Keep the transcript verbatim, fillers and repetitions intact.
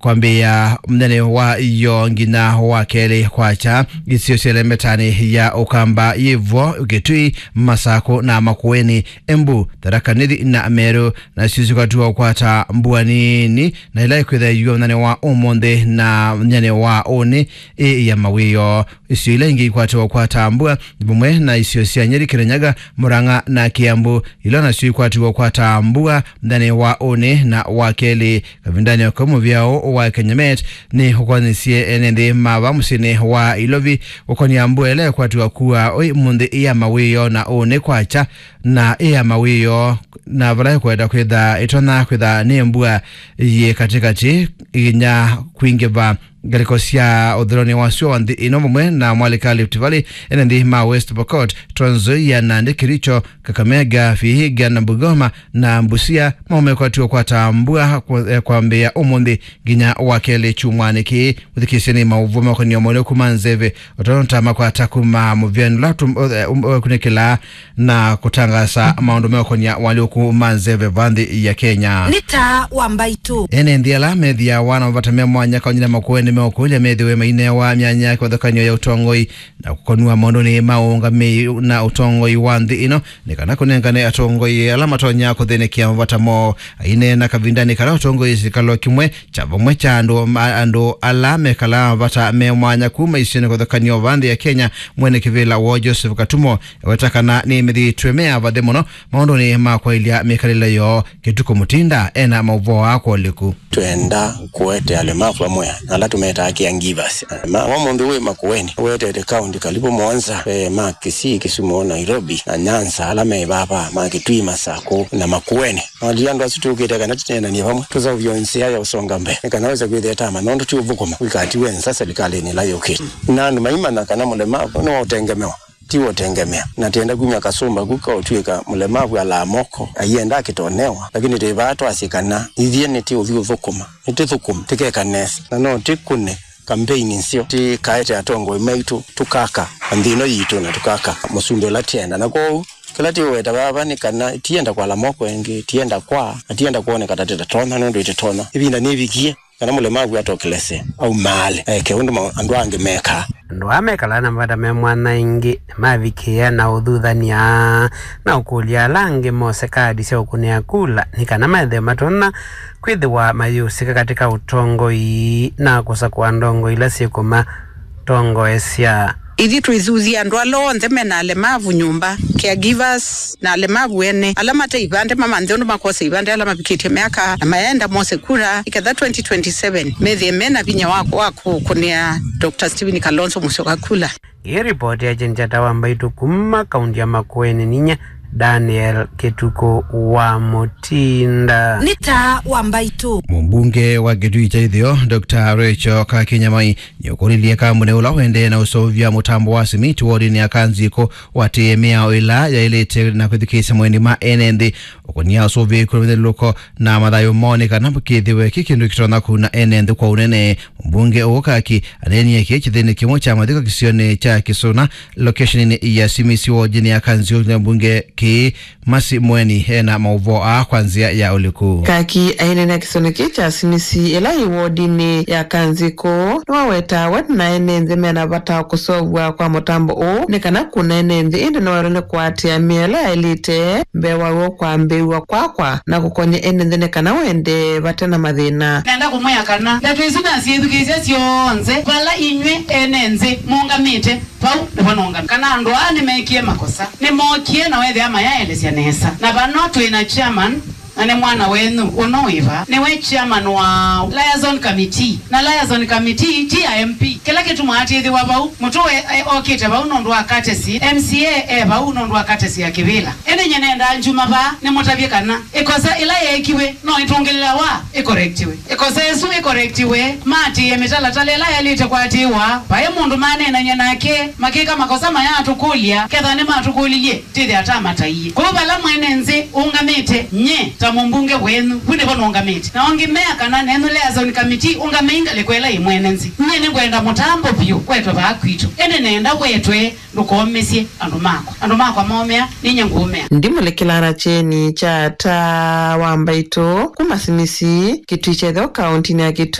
kwambĩĩa mũthenya wa ĩyoo nginya wa kelĩ kwakya, isio sya ĩlembetanĩ ya Ũkamba, Yĩvo, Kitui, Masakũ na Makueni, Embu, Tharaka Nithi na Meru, nasyo sikwatiwa kũkwata mbua nini, na ila ikwĩthĩwa mũthenya wa ũmũnthĩ na mũthenya wa ũnĩ ĩ ya mawĩoo. Isio ila ingĩ ikwatiwa kũkwata mbua nĩ vamwe na isio sya Nyeri, Kirinyaga, Murang'a na Kiambu, ila nasyo ikwatiwa kũkwata mbua mũthenya wa ũnĩ na wa kelĩ. Kavindanĩ o kau, mũvĩa ũũ wa Kenya Met nĩ ũkwanyĩsye ene nthĩ ma va mũsyĩnĩ wa Ilovi ũkonia mbua ĩla ĩkwatiwa kua ũmũnthĩ ĩ ya mawĩoo na ũnĩ kwakya, na ĩ ya mawĩoo, na vala ĩkwenda kwĩtha ĩtonya kwĩtha nĩ mbua yĩ katĩkatĩ nginya kwingĩva ngalĩko sya ũthũĩlonĩ wa sua wa nthĩ ĩno vamwe na mwalĩka Rift Valley, ene nthĩ ma West Pokot, Trans Nzoia, Nandi, Kericho, Kakamega, Vihiga na Bungoma na Busia, maume kwatiwa kũkwata mbua kwa-, eh, kwambĩĩa ũmũnthĩ nginya wa kelĩ kyumwanĩ kĩĩ. Ũthikĩĩsye nĩ maũvoo makonĩa moleku ma nzeve, ũtonta makwata kuma mũvĩanĩ ũla tũ-, eh, um, eh, kunĩkĩla na kũtangaasa maũndũ meũkonia moleku ma nzeve va nthĩ ya Kenya. Nĩ taa wa mbaitũ. Ene nthĩ ala methĩawa na mavata me mwanya kaũnĩ ya Makueni meũkũlya methĩwe mainewa myanya ya kĩvathũkany'o ya ũtongoi na kũkonw'a maũndũnĩ ma ũũngamĩi na ũtongoi wa nthĩ ĩno, nĩ kana kũnengane atongoi ala matonya kũthĩnĩkĩa mavata moo. Aineena kavindanĩ kala ũtongoi silikalĩ kĩmwe kya vamwe kya andũ ma-, andũ ala mekalaa mavata me mwanya kuma isionĩ kũthũkany'o va nthĩ ya Kenya, mwene kĩvĩla woo Joseph Katumo eweta kana nĩmethĩĩtwe me avathe mũno maũndũnĩ ma kwaĩlya mĩkalĩle yoo. Kĩtukũ Mũtinda ena maũvoo aa kwa ũliku. Twenda kũete alemavu amwe na ala tũmetaa caregivers. Ma, wa mũndũ wĩ Makueni, wetete kaunti karibu mũonza, eh, ma Kisii, Kisumu, Nairobi, na Nyanza, ala me vava, ma Kitui, Masakũ, na Makueni. Nali andũ asu tũkĩte kana tũneenanie vamwe, tũseũvye nzĩa ya ũsonga mbee, nĩ kana wĩse kwĩthĩa tama, nũndũ ti ũthũkũma wĩkatiwe nza silikalĩnĩ ĩla yũkĩte. Na andũ maimanya kana mũlemavu nĩ wa ũtengemewa, ti wa ũtengemea. Na tenda kumya kasũmba ku ka ũtw'ĩka mũlemavu alaa moko, aienda akĩtonewa, lakini twĩ vaa twasye kana ithyĩ nĩtĩũthi ũthũkũma, nĩtĩthũkũme, tĩkeka nesa, na no tĩkũne kambeini nzeo, tĩkaete atongoi maitũ, tũkaka nthĩ ĩno yitũ, na tũkaka mũsumbĩ ũla tĩenda. Na kwoou, kĩla tĩũweta vava nĩ kana tienda kwala moko ĩngĩ, tienda kwa, na tienda kwoneka ta tĩtatonya, nũndũ ĩtĩtonya. Ĩvinda nĩvikie kana mũlemavu atokelese, aumaale, eke ũndũ ma-, andũ angĩ mekaa. Andũ aa mekalaa na mavata me mwanya ĩngĩ nĩmavikĩĩa na ũthuthany'a na ũkũlya ala angĩ mose kaadi sya ũkũnĩa kula nĩ kana methĩwe matonya kwĩthĩwa mayĩũsĩka katĩ ka ũtongoi na kũsakũa ndongoi ila syĩkũmatongoesya. Ithyĩ twĩthuthya andũ ala onthe mena alemavu nyũmba, caregivers, na alemavu ene, ala mate ivandĩ mamanthe ũndũ makosa ivandĩ, ala mavikĩtye myaka na mayenda mose kura, nĩketha twenty twenty-seven methĩe mena vinya wa, wa kũkũnĩa Doctor Stephen Kalonzo Musyoka kula. Ĩ ripoti ya Jane Chata wa Mbaitũ kuma kaunti ya Makueni, ninyie Daniel Kĩtukũ wa Mũtinda. Nĩ taa wa Mbaitũ. Mũmbunge wa Kitui kya Itheo, Doctor Rachel Kakinyamai, nĩũkũlilye kambuni ũla ũendee na ũseũvya mũtambo wa simiti wodinĩ ya Kanzikũ watĩĩe mĩao ĩla yaĩlĩte na kwĩthukĩĩsya maũndũ ma ene nthĩ. Ũkũnia ũsũvĩĩku na mĩthyũlũlũko na mathayũ moo nĩ kana kĩthĩwe kĩ kĩndũ kĩtonya kũuna ene nthĩ kwa ũnene. Mũmbunge ũũ Kaki aneenie kĩĩ kĩthĩnĩ kĩmwe kya mathiko kĩsionĩ kya Kĩsũna, location-inĩ ya Simisi wodinĩ ya Kanzikũ, na mbunge kĩĩ Mercy Mweni ena maũvoo aa kwa nzĩa ya ũliku. Kaki aineenea kĩsionĩ kĩĩ kya Simisi ĩla yĩ wodinĩ ya Kanzikũ, nĩwawetaa we na ene nthĩ mena vata wa kũseũvw'a kwa mũtambo ũũ nĩ kana kũna ene nthĩ, ĩndĩ noerwe nĩ kũatĩĩa mĩao ĩla yaĩlĩte mbee wa w'o kwambĩĩw'a kwakwa na kũkony'a ene nthĩ nĩ kana ũendee vate na mathĩna. Nenda kũmwĩa kana ndeto isu nasyĩthukĩĩsya syonthe vala inyw'ĩ ene nthĩ mũũngamĩte. Vau nĩvo nũngamĩte kana andũ aa nĩmekie makosa. Nĩmookie na wethĩa mayaelesya nesa. Na vano twĩ na chairman, na nĩ mwana wenyu ũno wĩ vaa. Nĩwe chairman wa liaison committee. Na liaison committee ti ya M P. Kĩla kĩtumaa atĩthĩwa vau, mũtũe, e, okĩte vau nũndũ wa courtesy. M C A e vau nũndũ wa courtesy ya kĩvĩla. Ĩndĩ nyie nendaa njuma vaa nĩmũtavye kana ĩkosa ĩla yeekiwe no ĩtũngĩlĩlawa ĩkorektiwe. Ĩkosa ĩsu ĩkorektiwe, maatĩĩe mĩtalatala ĩla yaĩlĩte kũatĩĩwa. Vaĩ mũndũ maneenany'a nake, makĩka makosa mayaatũkũlya, ketha nĩmatũkũlilye, twĩthĩa twamataie. Kwoou vala mwene nthĩ ũngamĩte, nyie ta mũmbunge wenyu, vu nĩvo nũngamĩte. Na ongĩ mea kana nenyu liaison committee ũngamei ngalĩko ĩla yĩ mwene nthĩ. Nyie nĩngwenda mũtambo vyũ wetwe vaa kwitũ. Ĩndĩ nenda wetwe. Ndũkomesye andũ makwa. Andũ makwa momea, ninyie ngũũmea. Ndimũlikĩlaa na kyeni kya taa wa mbaitũ kuma Simisi, Kitui kya Itheo, kauntinĩ ya Kitui.